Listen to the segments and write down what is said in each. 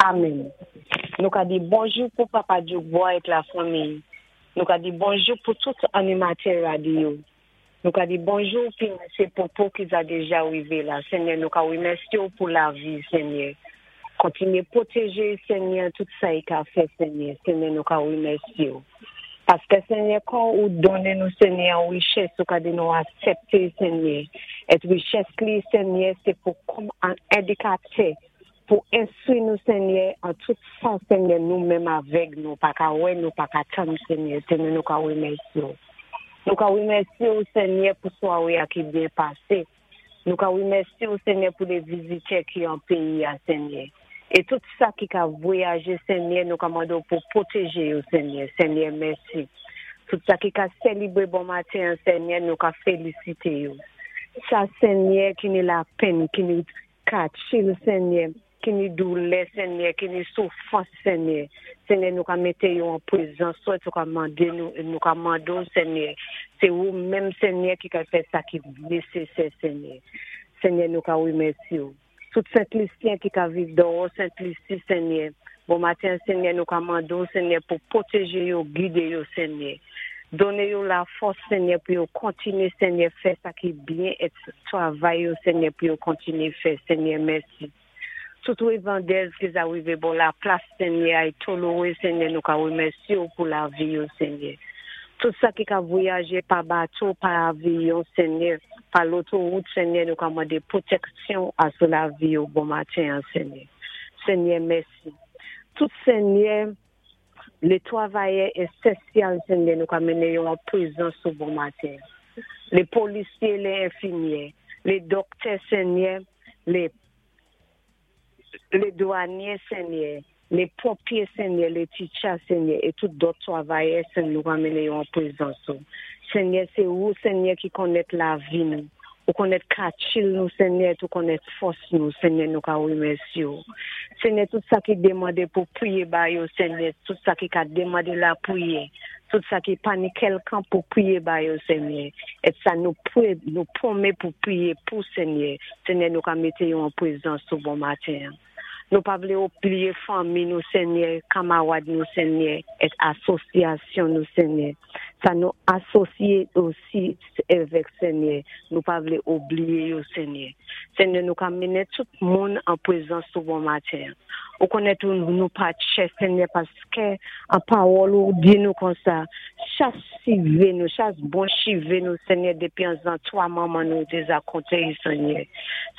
Amèn. Nou ka di bonjou pou Papa Djoukbois et la fanmiy. Nou ka di bonjou pou tout animatè radyo. Nou ka di bonjou pi Mesye Popo ki za deja rive la. Senyè, nou ka remèsye w pou lavi, Senyè. Kontinye pwoteje Senyè tout sa i ka fè, Senyè. Senyè, nou ka remèsye w. Paske, Senyè, kon ou donnen nou, Senyè, an richès, ou ka di nou asepte, Senyè. Et richès li, Senyè, se pou kòm an endikatè pou enstwi nou, Senyè, an tout sa, Senyè, nou menm avèg nou pa ka wè, nou pa ka tann, Senyè. Senyè, nou ka remèsye w. Nou ka remèsye w, Senyè, pou sware a ki byen pase. Nou ka remèsye w, Senyè, pou le vizitè ki an peyi a, Senyè. E tout sa ki ka vwayaje, Senyè, nou ka mande w pou pwoteje yo, Senyè. Senyè, mèsi. Tout sa ki ka selebre bon maten, Senyè, nou ka felisite yo. Sa, Senyè, ki ni lapenn, ki ni katchil, Senyè, ki ni doulè, Senyè, ki ni soufrans, Senyè. Senyè, nou ka mete yo an prezans ou, nou ka mande nou, nou ka mande w, Senyè. Se ou menm, Senyè, ki ka fè sa ki nesesè, Senyè. Senyè, nou ka remèsye w. Tout Sent Lisyen ki ka viv dèwò Sent Lisi, Senyè. Bon maten, Senyè, nou ka mande w, Senyè, pou pwoteje yo, gide yo, Senyè. Done yo lafòs, Senyè, pou yo kontinye, Senyè, fè sa ki byen et travay yo, Senyè, pou yo kontinye fè, Senyè, mèsi. Tout revandèz ki za rive bò laplas, Senyè, ay tolore, Senyè, nou ka remèsye w pou lavi yo, Senyè. Tout sa ki ka vwayaje pa bato, pa avyon, Senyè, pa lotowout, Senyè, nou ka mande pwoteksyon a sou lavi yo bon maten an, Senyè. Senyè, mèsi. Tout, Senyè, le travayè esansyèl, Senyè, nou ka mennen yo an prezans ou bon maten. Le polisye, le enfimyè, le doktè, Senyè, le dwanye, Senyè, le ponpye, Senyè, le teacher, Senyè, e tout dòt travayè, Senyè, nou ka mennen yo an prezans ou. Senyè, se ou, Senyè, ki konnèt lavi nou. Ou konnèt katchil nou, Senyè, ou konnèt fòs nou, Senyè, nou ka remèsye ou. Senyè, tout sa ki demande pou priye ba yo, Senyè, tout sa ki ka demande lapriyè, tout sa ki pa ni kèlkan pou priye ba yo, Senyè, et sa nou pre, nou pwome pou priye pou, Senyè, Senyè, nou ka mete yo an prezans ou bon maten. Nou pa vle oubliye fanmi nou, Senyè, kamarad nou, Senyè, et asosyasyon nou, Senyè. Sa nou asosye osi avèk, Senyè, nou pa vle oubliye yo, Senyè. Senyè, nou ka mennen tout moun an prezans ou bon maten. Ou konnèt ou nou pa chè, Senyè, paske an pawòl ou di nou konsa, chas chive nou, chas bon chive nou, Senyè, depi an zantray manman nou deja konte, Senyè.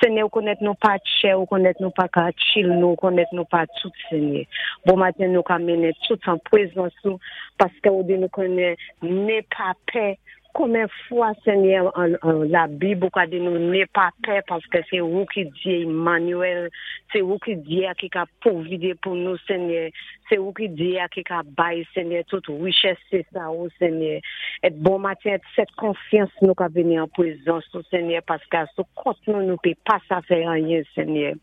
Senyè, ou konnèt nou pa chè, ou konnèt nou pa katchil nou, ou konnèt nou pa tout, Senyè. Bon maten, nou ka mennen tout an prezans ou, paske ou di nou konnen ne pa pè. Konbyen fwa, Senyè, an Labib ou ka di nou ne pa pè, paske se ou ki Dye Emmanuel, se ou ki Dye ki ka pwovide pou nou, Senyè, se ou ki Dye ki ka bay, Senyè, tout richès, se sa ou, Senyè. Et bon maten, sèt konfyans nou ka vini an prezans ou, Senyè, paske sou kont nou, nou pe pa sa fè anyen, Senyè.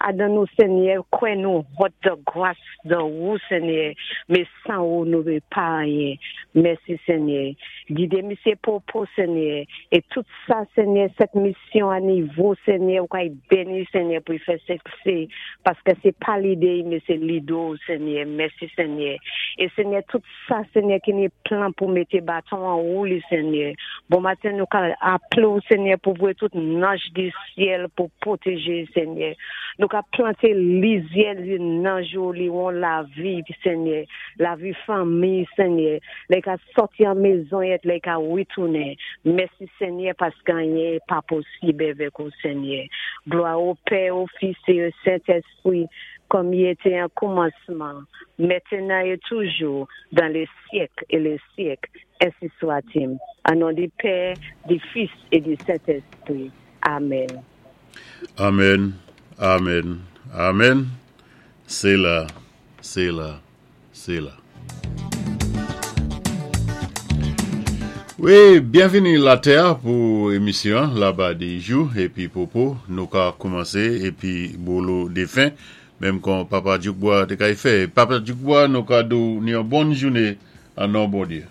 Adan nou, Senyè, kwè nou hòt de gras de ou, Senyè, men san ou nou pe pa anyen. Mèsi, Senyè. Gide Misye Popo, Senyè, e tout sa, Senyè, sèt misyon a nivo, Senyè, ou ka beni, Senyè, pou y fè siksè, paske se pa lide, men se lide ou, Senyè. Mèsi, Senyè. E Senyè, tout sa, Senyè, ki ni plan pou mete baton an wou li, Senyè. Bon maten, nou ka aple ou, Senyè, pou voye tout nanj di syèl pou pwoteje, Senyè. Nou ka plante lizyè li nanj ou li won lavi, Senyè. Lavi fanmi, Senyè. Lè ka sòti an mezon et lè ka retounen. Mèsi, Senyè, paske anyen pa posib avèk ou, Senyè. Glwa o Pè, o Fis e o Sentespri, kòm i etè an kòmansman, mentnan e toujou, dan le syèk e le syèk. Ensi swa-t-il. An non di Pè, di Fis e di Sentespri. Amèn. Amèn, amèn, amèn. Sela, sela, sela. Wi, byenvini latè pou emisyon Laba di jou epi Popo nou ka koumanse epi bolo defen menm kon Papa Djoukbwa te kay fè. Papa Djoukbwa, nou ka di w ni yon bòn joune an non Bondye.